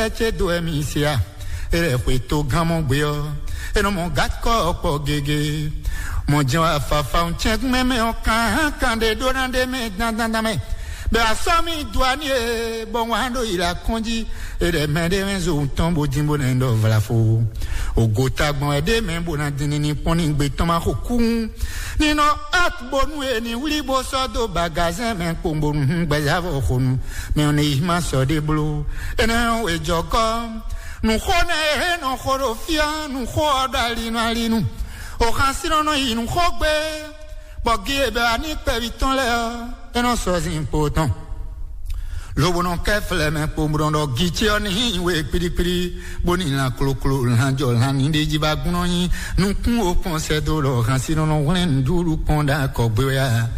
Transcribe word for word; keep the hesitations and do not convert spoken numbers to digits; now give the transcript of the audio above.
ɛ cé dó ɛmí se a? E lɛ xwe tó gán mɔ gbé ɔ́, e nɔ mɔ gǎkɔ ɔkpɔ gege. Mɔ jɛn wá fafa un cɛn mɛmɛ ɔ́ kan hán kan ɖe ɖó ná ɖe mɛ dandandan mɛ. Bɛ asɔ mi dua ni e bɔ wan ɖo yi la kɔn jí. E lɛ mɛ ɖe mɛ zo tɔn bo dín bo nɛ ɖɔ vlafo. Ogo tagbɔn wɛ ɖe mɛ bo na dín ní pɔn ní gbe tɔn ma xo kún. Ní nɔ at bonu e ní wlí bó sɔ́ dó bagazɛn mɛ kpowun bonu hun gbɛzavɔ xonu. Mɛ ɔ́ ne yi ma sɔ ɖe bló. Énɛ́ ɔ́ wejɔ gɔ́. Nǔxó nɛ́ e nɔ xo ɖo fí ɔ́, nǔxó ɔ́ ɖo alinu alinu. Oxansínɔ nɔ yi nǔxó gbé, bɔ gi e bɛ wá ní kpɛví tɔn lɛ́ɛ ɔ́, é nɔ sɔ́ zin kpo tɔn. Lobo nɔ kɛ flɛ mɛ kpo bó nɔ ɖɔ gi ce ɔ́ ní we kpíɖíkpíɖí, bó ní lan kloklo lan jɔ lan ní ɖé jí ba gbɔn nɔ nyi nukún o kpɔn sɛ dó ɖɔ oxansínɔ nɔ hwlɛ́n nǔɖuɖu kpɔn ɖo akɔgbé wɛ a?